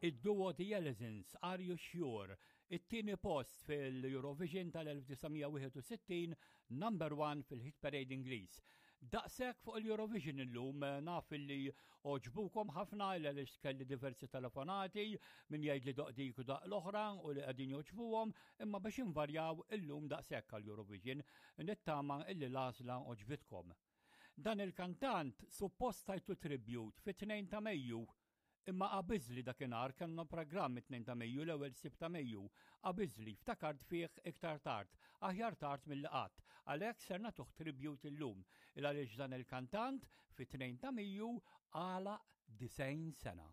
Id-duo The Ellizins, Are You Sure? It-tieni post fil-Eurovision tal-1961, number one fil-Hit Parade Ingliż. Daqshekk fuq il-Eurovision illum, naf illi għoġbukom ħafna illa li kelli diversi telefonati min jgħid li doq dik u daq l-oħra u li qegħdin jogħġbuhom, imma biex invarjaw illum daqshekk għall-Eurovision, nittama illi l-għażla għoġbitkom. Dan il-kantant suppost tajtu tribute fit-2 ta' Mejju, imma qabiżli dakinhar kellna programm it-2 ta' Mejju l-ewwel Sibt ta' Mejju. Qabiżli, ftakart fih iktar tard, aħjar tard milli qatt. Għalhekk ser nagħtuh tribute illum, il għaliex dan il-kantant fit-2 ta' Mejju għalaq 90 sena.